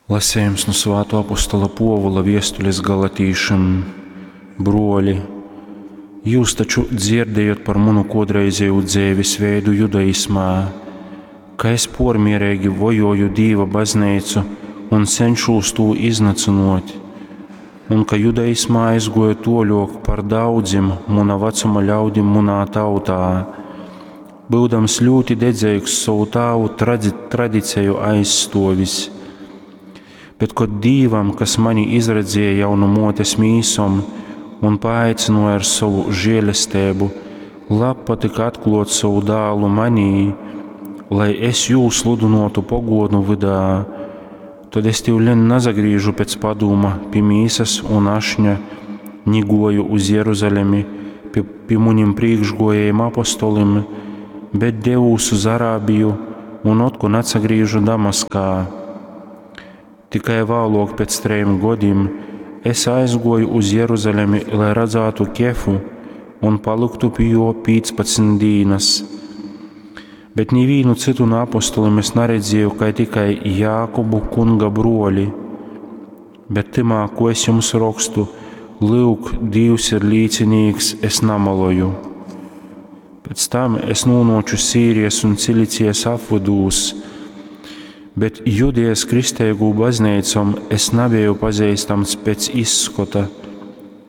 Lasejums nu Svātuo apostola Puovula viestulis galatīšim. Bruoli, jius taču dzierdējot par munu kuodreizejū dzeivis veidu judaismā, ka es puormiereigi vojuoju Dīva bazneicu un cenšūs tū iznycynuot, un ka judaismā aizguoju tuoļuok par daudzim muna vacuma ļaudim munā tautā, byudams ļūti dedzeigs sovu tāvu tradiceju aizstuovis. Bet kod Dīvam, kas mani izredzēja jau nu muotes mīsom un paaicynuoja ar sovu žielesteibu, labpatyka atkluot sovu dālu manī, lai es jū sludynuotu poguonu vydā, tod es tiuleņ nasagrīžu pēc padūma pi mīsas un ašņa, ni guoju uz Jeruzalemi pi munim prīkšguojējim apostolim, bet devūs uz Arābiju un otkon atsagrīžu Damaskā. Tikai vāluok pēc trejim godim es aizguoju uz Jeruzalemi, lai radzātu Kefu un palyktu pi juo 15 dīnas. Bet nivīnu cytu nu apostolim es naredzieju, kai tikai Jākubu kunga bruoli. Bet tymā, ko es jums rokstu, lyuk, Dīvs ir līcinīks, es namaloju. Pēc tam es nūnuoču Sīrijas un Cilicijas apvydūs, bet Judejas kristeigū bazneicom es nabeju pazeistams pēc izskota,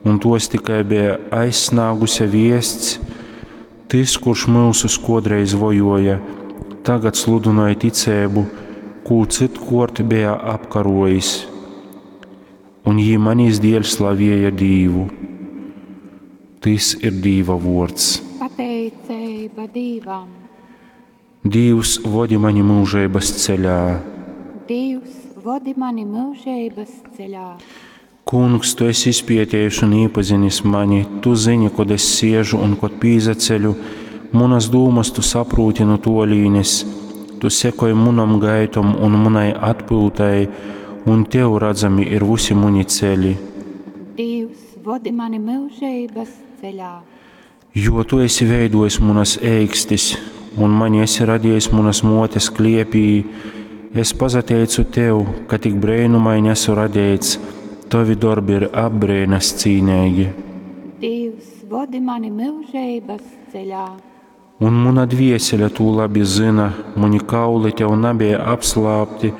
un tos tikai beja aizsnāguse viests, tys, kurš myusus kuodreiz vojuoja, tagad sludynoj ticeibu, kū cytkuort beja apkaruojis. Un jī manis dieļ slavieja Dīvu. Tys ir Dīva vuords. Pateiceiba Dīvam. Dīvs, vodi mani myužeibas ceļā. Dīvs, vodi mani myužeibas ceļā. Kungs, tu esi izpietējis un īpazinis mani, tu zini, kod es siežu un kod pīzaceļu, munas dūmas tu saprūti nu tuolīnes, tu sekoj munom gaitom un munai atpyutai, un tev radzami ir vusi muni ceļi. Dīvs, vodi mani myužeibas ceļā. Jo tu esi veidojis munas eikstis un mani esi radījis munas muotes kliepī, es pasateicu tev, ka tik breinumaini esmu radīts, tovi dorbi ir apbrīnas cīnīgi. Dīvs, vodi mani myužeibas ceļā. Un muna dviesele tū labi zina, muni kauli tev nabija apslāpti,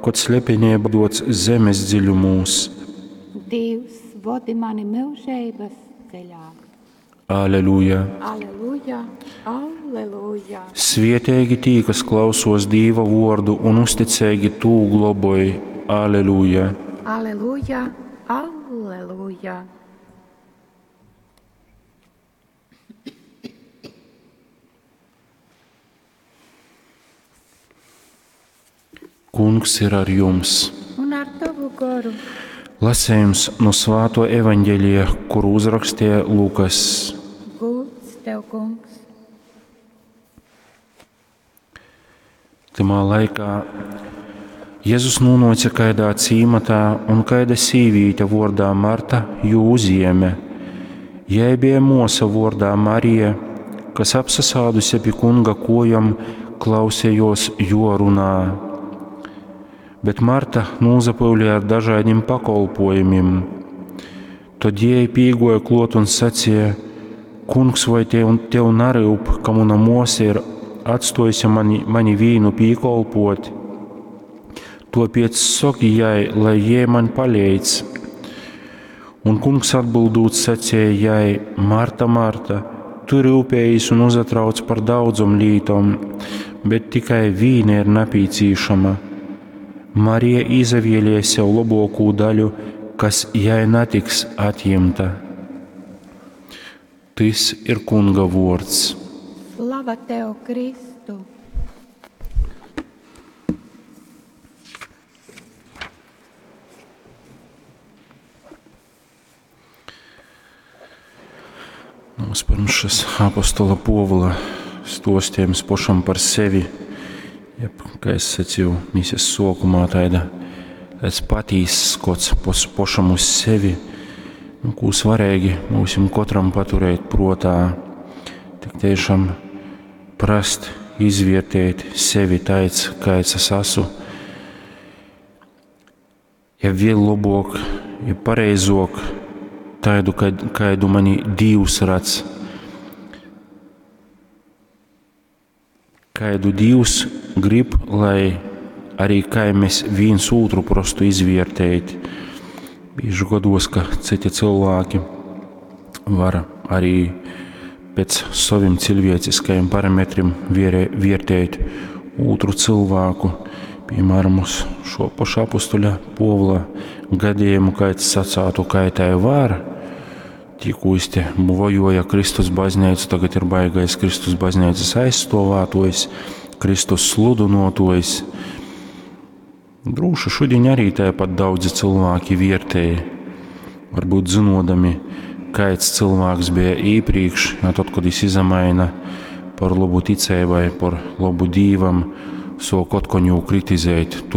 kod slepenība dots zemes dziļumūs. Dīvs, vodi mani myužeibas ceļā. Aleluja! Aleluja, aleluja. Svieteigi tī, kas klausos Dīva vuordu un uzticeigi tū globoj. Aleluja! Aleluja, aleluja. Kungs ir ar jums! Un ar tavu goru. Lasējums no Svāto evaņģēlija, kuru uzrakstīja Lukas. Gūds tev, kungs. Tymā laikā Jēzus nūnuoca kaidā cīmatā, un kaida sīvīte vuordā Marta jū uzjēme. Jai bija muosa vuordā Marija, kas apsasāduse pi kunga kojom, klausējos jo runā. Bet Marta nūzapyulēja ar dažādiem pakolpojumiem. Tod jei pīgoja klot un sacīja: Kungs, vai tev naryup, ka muna muosa ir atstojusi mani vīnu pīkolpot? Tuopiec soki jai, lai jei man paleidz. Un kungs atbildūt sacīja jai: Marta, Marta, tu ryupējies un uzatrauc par daudzom lītom, bet tikai vīna ir napīcīšama. Marija izavēlēja sev lobokū daļu, kas jai natiks atjimta. Tys ir Kunga vuords. Slava tev, Kristu! Mums pirms šis apostola Povula stostījums pašam par sevi, jeb, kā es sacīju, misijas sokumā taida, tāds patīss skots pošam uz sevi, nu, kū svarīgi mūsim kotram paturēt protā, tik tiešām prast izvērtēt sevi taids, kāds es esmu. Ja vēl lobuok i pareizuok, taidu, kaidu mani Dīvs redz. Kaidu Dīvs grib, lai arī kai mēs vīns ūtru prostu izviertēt. Bīži godos, ka citi cilvēki var arī pēc saviem cilvēciskajiem parametriem vērtēt otru cilvēku. Piemēram, uz šo pašu apustuļa Povla gadījumu, kāds sacātu, kā tai var. Tikko es te vojoja Kristus baznīcu, tagad ir baigais Kristus baznīcas aizstovātojs, Kristus sludunotojs. Drūši šodien arī tāpat daudzi cilvēki vērtēja, varbūt zinodami, kāds cilvēks bija iepriekš, ja tad, kad viņš izamaina par labu ticībai, par labu dīvam, sok otkon jū kritizēt.